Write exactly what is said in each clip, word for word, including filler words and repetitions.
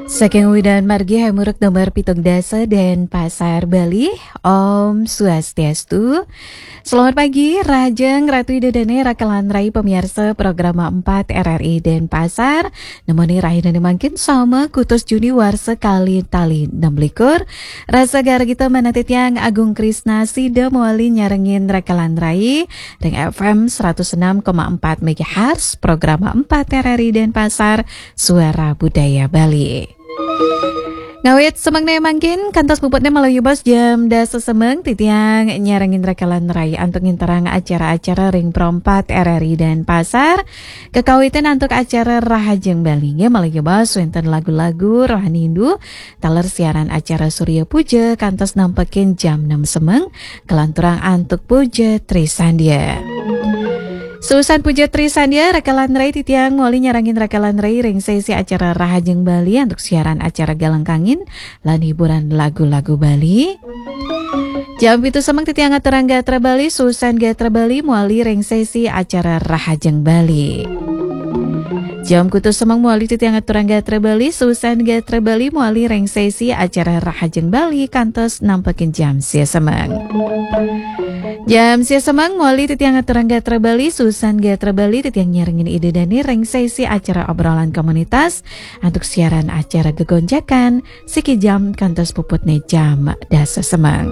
Saking Widan Margi Hamuruk nomor pitung dasa dan Pasar Bali. Om Swastiastu. Selamat pagi, Rahajeng Ratu Ida Dane, Raka lan Rai, pemirsa program empat R R I Denpasar. Nemoni rahina mangkin sama kutus Juni warsa kali tali enam likur. Rasa gargita manah titiang Agung Krisna sida mawali nyarengin Raka lan Rai ring F M seratus enam koma empat megahertz, program empat R R I Denpasar, Suara Budaya Bali. Ngawit semengné mangkin kantos puputné malih yubas jam dasa semeng, titiang nyarengin Raka lan Rai antuk nginterang acara-acara ring Pro empat R R I Denpasar. Kekawitan antuk acara Rahajeng Bali nggih malih yubas wénten lagu-lagu rohani Hindu, taler siaran acara Surya Puja kantos nampekin jam enam semeng, kalanturang antuk Puja Trisandya. Suusan Puja Trisandya, Raka lan Rai titiang mawali nyarengin Raka lan Rai ring sesi acara Rahajeng Bali antuk siaran acara Galang Kangin lan hiburan lagu-lagu Bali. Jam pitu semeng titiang aturang gatra Bali, suusan gatra Bali mawali ring sesi acara Rahajeng Bali. Jam kutus semeng mawali titiang aturang gatra Bali, suusan gatra Bali mawali ring sesi acara Rahajeng Bali kantos nampekin jam sia semeng. Jam sia semeng mawali titiang aturang gatra Bali, suusan gatra Bali titiang nyarengin Ida Dane ring sesi acara obrolan komunitas antuk siaran acara Gegonjakan, siki jam kantos puputné jam dasa semeng.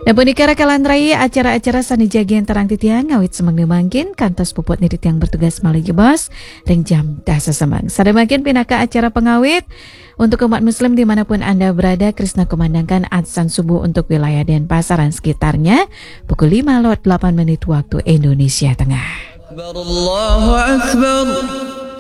Nah, punika Raka lan Rai acara-acara sané jagi antarang titiang ngawit semeng mangkin kantos puputné titiang bertugas malih yubas ring jam dasa semeng. Sada mangkin pinaka acara pangawit untuk umat muslim dimanapun Anda berada, Krisna kumandangkan adzan subuh untuk wilayah Denpasar dan sekitarnya pukul lima lewat delapan menit waktu Indonesia Tengah. Akbar, Allahu Akbar.